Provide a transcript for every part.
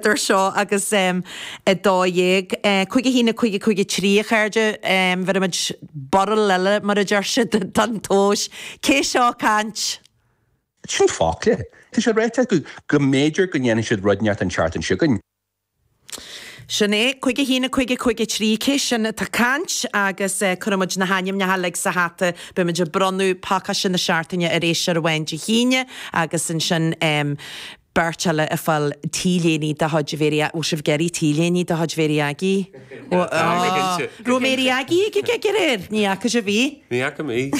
Idir seo agus 12, 5 1 5 5 3, a chairde, bhéarfaimid barúil eile, mar a deir siad, don tomhas. Cé seo ag caint? Sin focla. Tá sé ráite acu go mb'fhéidir go ndéanfaidh siad rud inteacht an tseachtain seo chugainn. Sin é, 5 1 5 5 3, cé sin atá ag caint? Agus cuirfimid na hainmneacha uilig sa hata. Beimid ag bronnadh pacáiste na seachtaine ar éisteoir amháin Dé hAoine agus ansin Beirt eile ag fáil T-léiní de chuid Mhéirí Aggie. Bhfuil sibh ag iarraidh T-léiní de chuid Mhéirí Aggie? Raibh Mary Aggie ag an gig aréir? Ní fhaca sibh í? Ní fhaca mé í.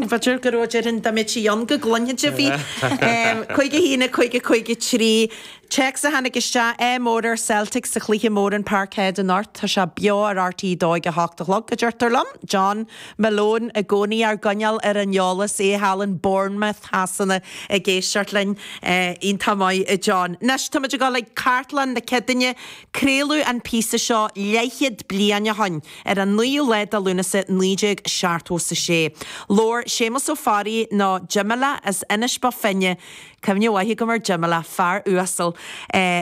B'fhéidir go raibh, déarfainn dá mbeadh sí ann go gcluinfeadh sibh í. 5 1 5 5 3. Téacs a tháinig isteach, ádh mór ar Celtic sa chluiche mór in Parkhead anocht. Tá sé beo ar RTÉ 2 ag a hocht a chlog, a deirtear liom. John Malone i gcónaí ár gcoinneáil ar an eolas, é thall in Bournemouth Shasana ag éisteacht linn. Iontach maith, a John. Anois, táimid ag dul ag Cartlann na Ceadaoine. Craoladh an píosa seo leathchéad bliain ó shoin, ar an 9ú lá de Lúnasa 1976. Labhair Séamus Ó Fearraigh, nó Jimeile, as Inis Bó Finne, Cuimhne mhaith agam ar Jimeile, fear uasal,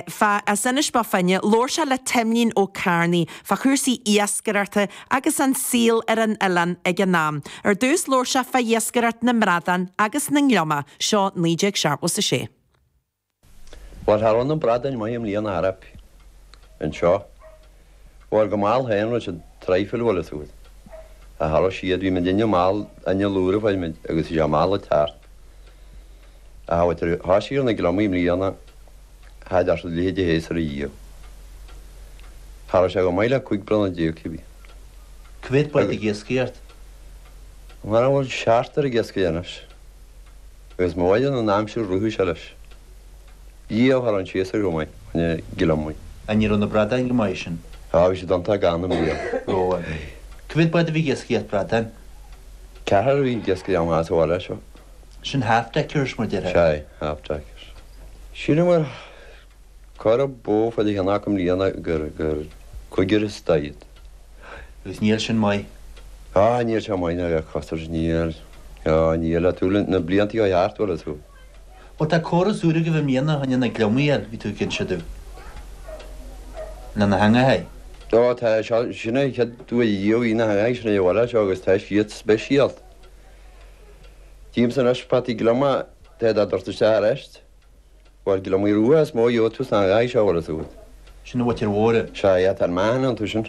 fá, as Inis Bó Finne. Labhair sé le Timlín Ó Cearnaigh fá chúrsaí iascaireachta agus an saol ar an oileán ag an am. Ar dtús labhair sé fá iascaireacht na mbradán agus na ngliomach, seo 1976. Bhuel, cha raibh na bradáin maith i mbliana ar bith anseo. Bhuel, go mall féin, raibh siad traidhfil, bhfuil fhios agat. Ach cha raibh siad, bhí muid inne mall, inneall úr a fuair muid agus bhí sé mall ag teacht. Ach bhuel, tar thoisigh ar na gliomaigh i mbliana, tháid as a leithéid a théas ar a dhiaidh. Cha raibh sé chomh maith le 15 bronnadh cibé. Cá mhéad bád ag iascaireacht? Mar a bhfuil seachtar ag iascaireacht anois. Agus má bhaineann an aimsir rothaí sé leis. Dhia, cha raibh an séasúr chomh maith, fá choinne gliomaigh. An ní raibh na bradáin go maith sin? Á, bhí siad iontach gann i mbliana. Raibh. Cá mhéad bád a bhí ag iascaireacht bradán? Ceathrar a bhí ag iascaireacht amach as an bhaile seo. Sin half-deckers mar déarfá? Sea, half-deckers. Sílim gur corradh bó fá cheann acu i mbliana gur, gur cúigear is daichead. Agus níl sin maith. Á, níl sé maith ná a costas, níl, á, níl, le tú na blianta ó thart, bhfuil fhios agat. Bhuel tá córas úr agaibh i mbliana fá choinne na gliomaigh a fháil, bhí tú ag inse domh. Le na heangacha. Á, tá, seo, sin é an chéad uair riamh í na heangacha sin ar an bhaile seo agus tá siad speisialta. Tchímse anois fataí glioma tá iad á dtabhairt isteach arís. Bhuel, gliomaigh rua is mó a gheobhaidh tú sna heangacha seo, bhfuil fhios agat. Sin an mhuintir mhór. Sea, yeah, tá an meáchan iontu sin.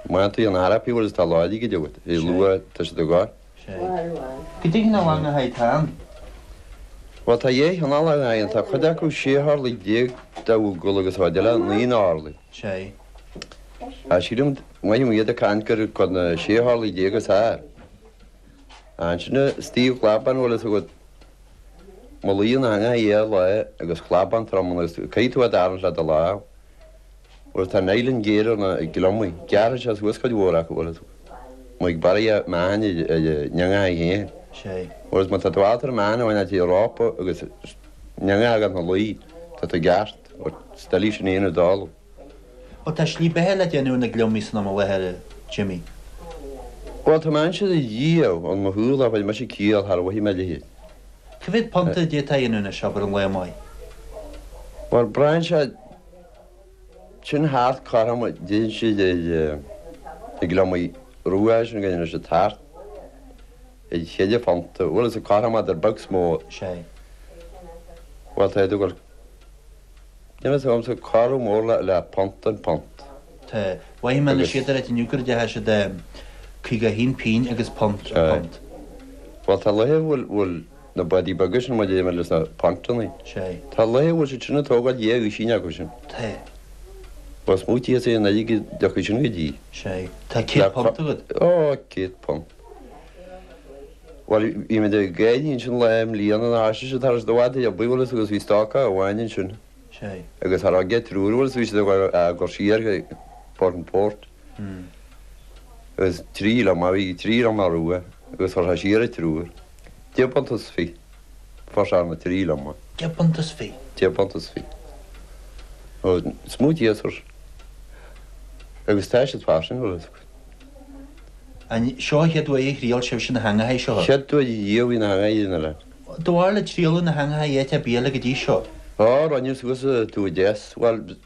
Maith tú an araip, bhfuil fhios tá láidir go deo agat. Bhí luath, tá siad ag gabháil. Sea. Goidé cineál eangacha atá ann? Bhuel, tá dhá chineál eangacha ann. Tá cuid acu sé horlaí dá bhfogal agus cuid eile naoi n-orlaí. Sea. Á, sílim, mothaím iad ag caint gur cuid na sé horlaí is fearr. Ansin istigh chlabán bhfuil fhios agat má luíonn eangach dhá lá agus clabán trom ann agus caithfidh tú é d'tharraingt le do lámh bhuel tá nylon géar ar na gliomaigh gearrfaidh sé suas cuid mhór acu bhfuil fhios agat má ag barraithe meáchain ar an eangach féin bhuel má tá tú ábalta an meáchan a bhaint as rópa agus an eangach a fhágáil ina luí tá tú i gceart steillfidh sin féin i dtalamh. Bhuel, tá slí beatha le déanamh ar na gliomaigh san am i láthair, a Jimmy. Bhuel, tá mé ansin a Dhia, on mo shúil, a bhfuil mise ciall thar mhaithe mé leithéid. Cá mhéad punta a d'fhéadfá a dhéanamh anois, abair, an lá maith? Bhuel, braitheann sé sin thart cothrom, déanann siad ar na gliomaigh rua sin go ndéanann siad thart ar cheithre phunta. Bhuel, is cothrom idir beag 's mór. Sea. Bhuel, tá iad ag dul. Níl fhios agamsa corradh mór le punt an phunt. Tá. Mhaígh mé na siad ar inniu gur deachaigh siad 51 pingin agus punt ar phunt. Bhuel tá laethe a bhfuil bhfuil na bádaí beaga sin mar déarfaidh mé leis na puntannaí. Sea. Tá laethe a bhfuil siad sin ag tógáil dhá dhuisín acu sin. Tá. Bhuel smaoitíos é an oiread go dtiocfaidh sin go dtí. Sea. Tá 100 punt agat. Ó, 100 punt. Bhuel, bhí muid ag éirí ansin lá i mbliana na háise seo tar éis do bhfad ar bith, bhfuil fhios agus bhí stocach amháin ansin. Sea. Agus cha raibh aige triúr, bhfuil fhios bhí siad ag dul siar go Port an Port. Agus trí gliomach, bhí trí gliomach rua agus chuir sé siar an triúr. Deich bpunt is fiche. Fuair sé ar na trí gliomach. Deich bpunt is fiche. Deich bpunt is fiche. Ó, smaoitíos air. Agus tá siad fairsing, bhfuil fhios agat. An seo an chéad uair a thriail sibhse na heangacha seo? Chéad uair riamh í na heangacha in oileán. Do bharr le trialadh na heangacha áit ar bith eile go dtí seo? Ó, rinneadh suas tú deas, bhuel.